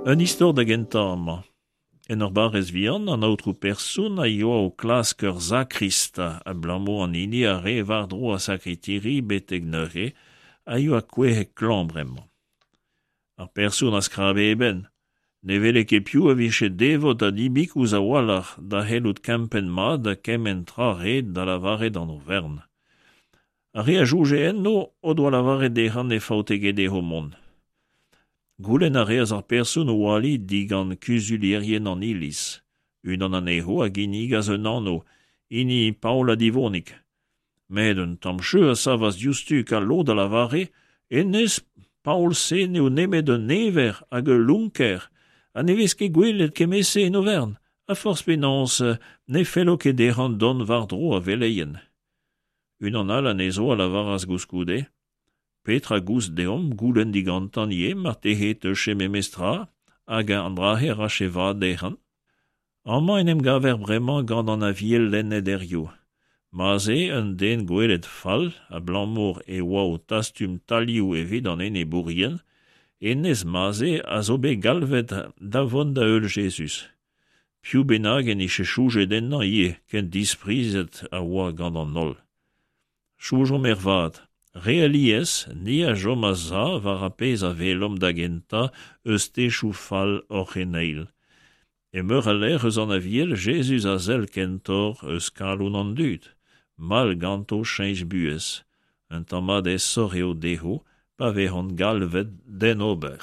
Un istor da gentañ amañ. En ur barrez vihan, an aotrou person a yoa o klask ur sakrist, abalamour an hini a rae war-dro ar sakritiri betek neuze a yoa kouezhet klañv bremañ. Ar person a skrabe e benn. Ne wele ket piv a vije devot ha dibikous a-walc'h da c'hellout kempenn mat kement tra ret da lavaret an overn. Ar re a soñje enno o doa lavaret dezhañ ne faote ket dezho mont. Goulenn a reas ar person o ali digant kuzulierien an iliz. Unan anezho a ginnigas un anv, hini Paol Adivonig. Met un tamm cheu a savas diouzhtu ka lod a lavare hennezh Paol-se n'eo nemet un ever hag ul lonker ha ne vez ket gwelet kement-se en overn, ha forzh penaos ne fello ket dezhañ dont war-dro ar veleien. Unan all anezho a lavaras koulskoude Petra 'goust deomp goulenn digantañ ivez marteze e teufe memes tra hag an dra-se 'rafe vad dezhañ? Amañ en em gaver bremañ gant an Aviel lennet hiziv. Ma'z eo un den gwelet fall abalamour e oa o tastum talioù evit an enebourien, hennezh Maze a zo bet galvet da vont da heul Jezuz. Piv bennak en dije soñjet ennañ ivez ken disprizet a oa gant an holl. Soñjomp ervat, re alies ni a chom a-sav war ar pezh a welomp da gentañ eus techoù fall hor c'heneil. E meur a lec'h eus an Aviel, Jezuz a sell kentoc'h eus kalon an dud, mall ganto cheñch buhez. Un tamm mat aesoc'h eo dezho pa vezont galvet d'hen ober.